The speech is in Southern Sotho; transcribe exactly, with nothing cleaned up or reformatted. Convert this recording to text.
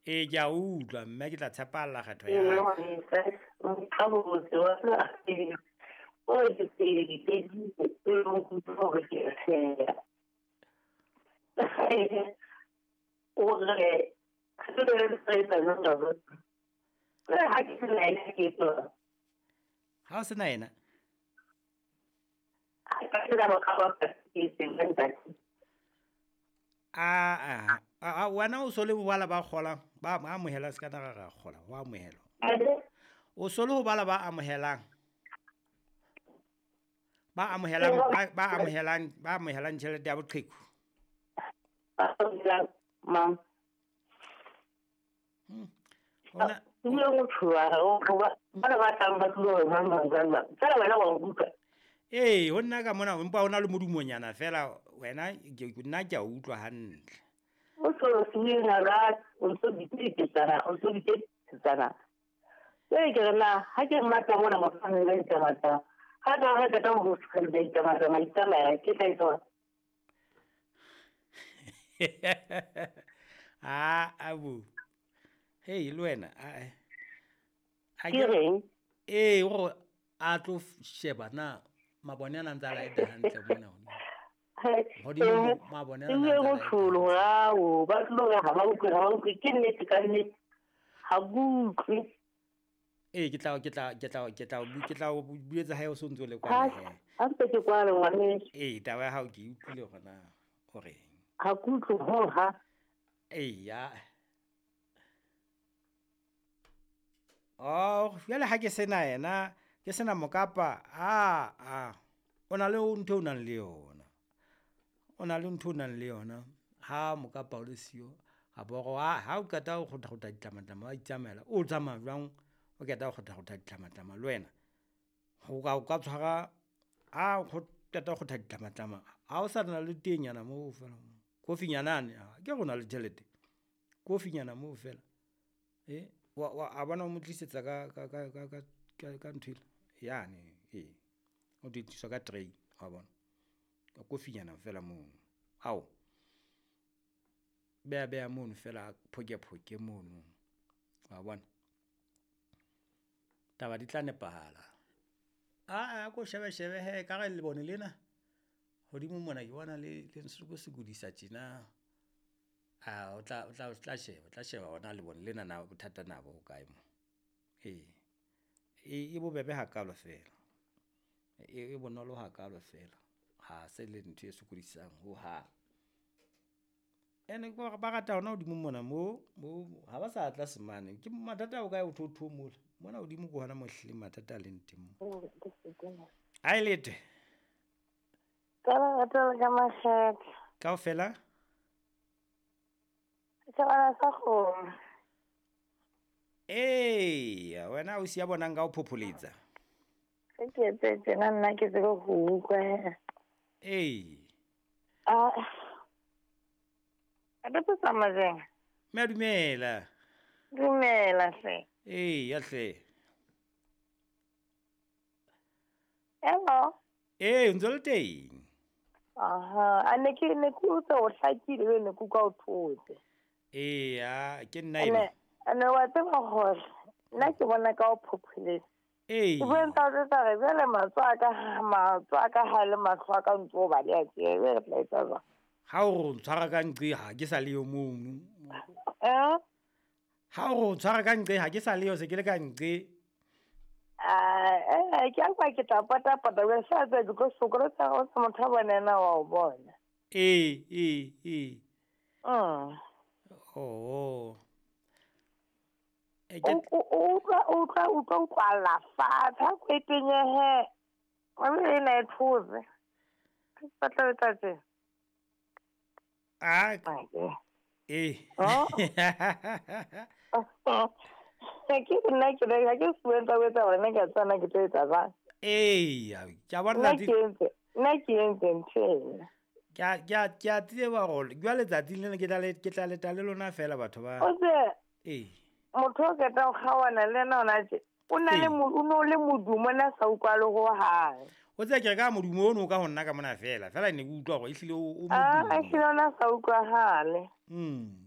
Ee, ke a utlwa mme ke tla tshepalla kgetho ya ka. Ha o se na yena? A a wena o so le bala ba kgolang ba amohela se ka na ra kgola wa amohelwa. O so le ho bala ba amohelang. Ba amohelang ba amohelang ba amohelang tjhelete ya boqheku. Mang. Hmm. Ona ee, ho nna ka mona empa hona le modumonyana fela wena ke nna ke a utlwa hantle. O so sena ra o so ditetsana o so ditetsana. Ke ke na ha ke mmatla mona mofana le tsamata. Ha ka ha ka tlo go le tsamata ma itsamaya ke tla itsa. Ah, abu. Hey, le wena a a ke reng? Ee, o a tlo sheba na mabone ana ntse a laeta hantle mona hodimo. Hodimo mabone ana ntse a laeta. Ho ba tlo ha ba utlwe ha ba utlwe ke nnete ka nnete. Ha utlwe. Ee, ke tla ke tla ke tla ke tla ke tla o buetsa hae o so ntse o le kwana he. Ha ntse ke kwale ngwaneso. Ee, taba ya hao ke e utlwile hore na o reng. Ha ke utlwe ho ha. Ee ya. Oh, jwale ha ke sena yena, ke sena mokapa. Ah ah. O na le ntho o nang le yona. O na le ntho o nang le yona. Ha mokapa o le siyo, ha boro ha ha o qeta ho kgotha ditlamatlama wa itsamaela. O tsamaya jwang o qeta ho kgotha ditlamatlama le wena? Ho ka o ka tshwara ha o qeta ho kgotha ditlamatlama. Ha o sa na le tenyana moo fela. Kofinyana ane, ke rona le tjhelete. Kofinyana moo fela. Eh wa wa a bona o mo tlisetsa ka ka ka ka ka ka ntho yane ee o di tliswa ka tray wa bona ka kofinyana fela mono ao beya beya mono fela phoke phoke mono wa bona taba di tla nepahala. A a ko shebe shebe he ka re le bone lena hodimo mona ke bona le le nsuku sekodisa tjena. A o tla o tla o tla sheba tla sheba ona le bone lena na bothata na bo kae mo. Ee, e bobebe hakalo fela. E e bonolo hakalo fela. Ha se le ntho e sokodisang ho ha. Ene ke ba rata hona hodimo mona mo mo ha ba sa tla semane. Ke mathata o kae o thotho mola. Mona hodimo ke hona mo hlileng mathata a leng teng mo. Ai lete. Ka rata ka makgetlo. Kaofela? Setjhabana sa kgomo. Ee, wena o siya bonang ka o phopholetsa. Ke ke etse tjena nna ke tsebe ho utlwa he. Ee. Ah. A re tsamaya jeng? Mme dumela. Dumela hle. Ee, ya hle. Hello. Ee, ntse le teng. Aha, a ne ke ne ke utlwa o hlakile ne ke utlwa o thotse. Ee, ya ke nna ena. Ene wa tseba hore nna ke bona ka o phopholetsa. Ee. Ke bontsha hore tsa re jwale matsoho a ka matsoho a ka ha le mahlo a ka ntse o baleha tje, re tla etsa jwang? Ha o re o ntshwara ka nqe ha ke sa le yo mono. Eh? Ha o re o ntshwara ka nqe ha ke sa le yo se ke le ka nqe. Ah, eh ke a kwa ke tla pota pota we sa tse ke tlo sokola tsa go sa motho a bona ena wa o bona. Ee, ee, ee. Mm. Oh. E ke o utlwa utlwa utlwa utlwa fatshe ha ko etenyehe. Wa be ena e thotse. Ke batla etsa tje. Ah. Eh. Oh. Ke nna ke re ha ke fuwe tsa etsa hore nna ke a tsana ke tlo etsa jwang. Ee, ke a bona nna ke entse nna ke entse ntho ena. Ke a ke a ke a tseba hore jwale letsatsing lena ke tla le ke tla leta le lona fela batho ba. O se. Ee. Motho o qeta ho kgaohana le yena hona tje. O na le o no le modumo na sa utlwale ho hang. O tseba ke re ka modumo ono ka ho nna ka mona fela. Fela ne ke utlwa hore ehlile o modumo. Ah, ehlile ona sa utlwahale. Mm.